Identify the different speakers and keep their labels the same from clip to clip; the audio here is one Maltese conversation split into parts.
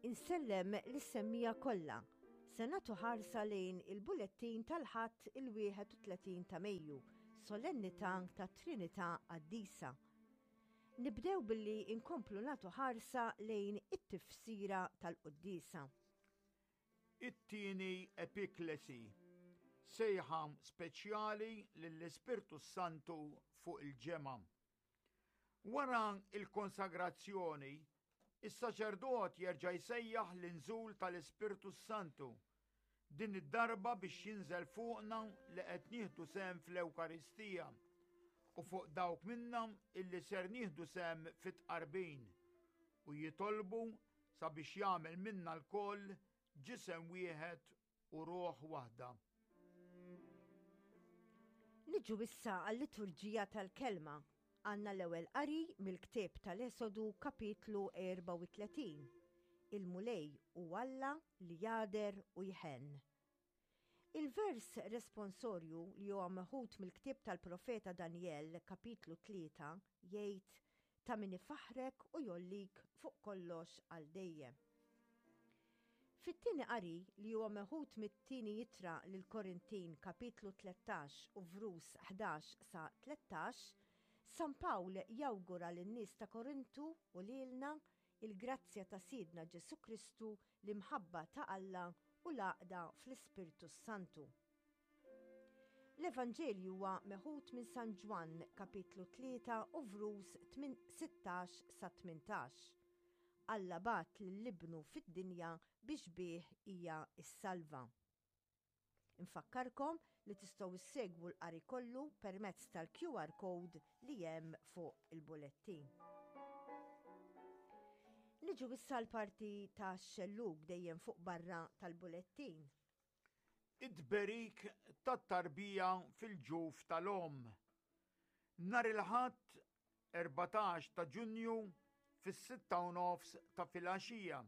Speaker 1: Insellem lis-semmiegħa kollha. Se nagħtu ħarsa lejn il-bulettin tal-Ħadd il-31 ta' Mejju, Solennità tat-Trinità Qaddisa. Nibdew billi nkomplu nagħtu ħarsa lejn it-tifsira tal-quddiesa.
Speaker 2: It-tieni epiklesi, sejħa speċjali lill-Ispirtu s-Santu fuq il-ġemgħa. Wara l-konsagrazzjoni, is-saċerdot jerġa' jsejjaħ l-inżul tal-Ispirtu s-Santu, din id-darba biex jinżel fuqna li qed nieħdu sehem fl-Ewkaristija u fuq dawk minna illi ser nieħdu sehem fit-tqarbin u jitolbu sabiex jagħmel minna lkoll ġisem wieħed u ruħ waħda.
Speaker 1: Niġu issa għal-liturġija tal-kelma. Għandna l-ewwel qari mill-ktieb tal-Esodu kapitlu 34. Il-Mulej hu Alla li jagħder u jħenn. Il-vers responsorju li huwa meħud mill-ktieb tal-profeta Danjel kapitlu 3 jgħid ta' min ifaħħrek u jgħollik fuq kollox għal dejjem. Fit-tieni qari, li huwa meħud mit-Tieni Ittra lill-Korintin kapitlu 13 u vrus 11 sa 13, San Pawl jawgura lin-nies ta' Korintu u lilna il-grazzja ta' Sidna Ġesù Kristu, l-imħabba ta' Alla u l-għaqda fl-Ispirtu s-Santu. L-Evanġelju huwa meħud minn San Ġwann kapitlu 3 u vrus 16 sa 18. Alla bagħat lil Ibnu fid-dinja biex bih hija ssalva. Infakkarkom li tistgħu ssegwu l-qari kollu permezz tal-QR code li hemm fuq il-bulettin. Niġu issa l-parti ta' xellug dejjem fuq barra tal-bulettin.
Speaker 2: It-tberik tat-tarbija fil-ġuf tal-omm. Nhar il-Ħadd 14 ta' Ġunju fis-sitta u nofs ta' filgħaxija,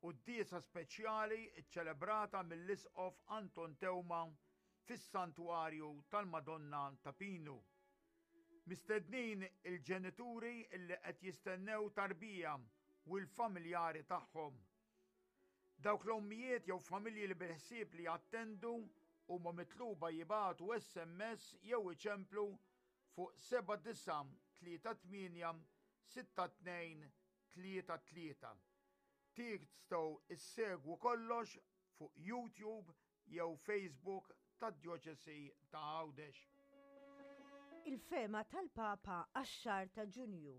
Speaker 2: quddiesa speċjali ċċelebrata mill-Isqof Anton Teuma fis-Santwarju tal-Madonna ta' Pinu. Mistednin il-ġenituri li qed jistennew tarbija u l-familjari tagħhom. Dawk l-ommijiet jew familji li bil-ħsieb li jattendu huma mitluba jibagħtu SMS jew iċemplu fuq 7938 6233. Tistgħu issegwu kollox fuq YouTube jew Facebook tad-Djoċesi ta' Għawdex.
Speaker 1: Il-fehma tal-Papa għax-xahar ta' Ġunju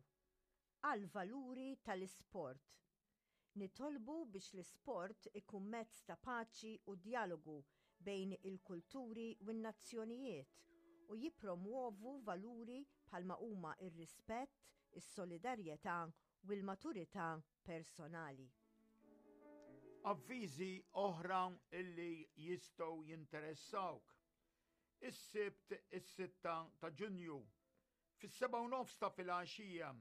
Speaker 1: għall-valuri tal-isport. Nitolbu biex l-isport ikun mezz ta' paċi u djalogu bejn il-kulturi u n-nazzjonijiet u jippromwovu valuri bħalma huma r-rispett, is-solidarjetà u l-maturità personali.
Speaker 2: Avviżi oħra li jistgħu jinteressawk. Is-Sibt is-sitta ta' Ġunju Fis-sebgħa u nofs ta' filgħaxija,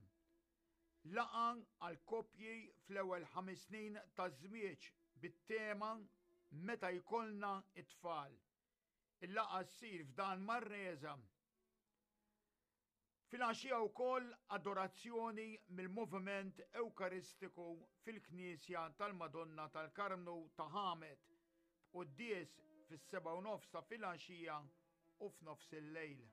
Speaker 2: laqgħa għall-koppji fl-ewwel ħames snin taż-żwieġ bit-tema Meta jkollna t-tfal. Il-laqgħa ssir f'dan Marreza. Filgħaxija wkoll adorazzjoni mill-Moviment Ewkaristiku fil-Knisja tal-Madonna tal-Karmnu ta' Ħamed, b'quddies fis-sebgħa u nofs ta' filgħaxija u f'nofs il-lejl.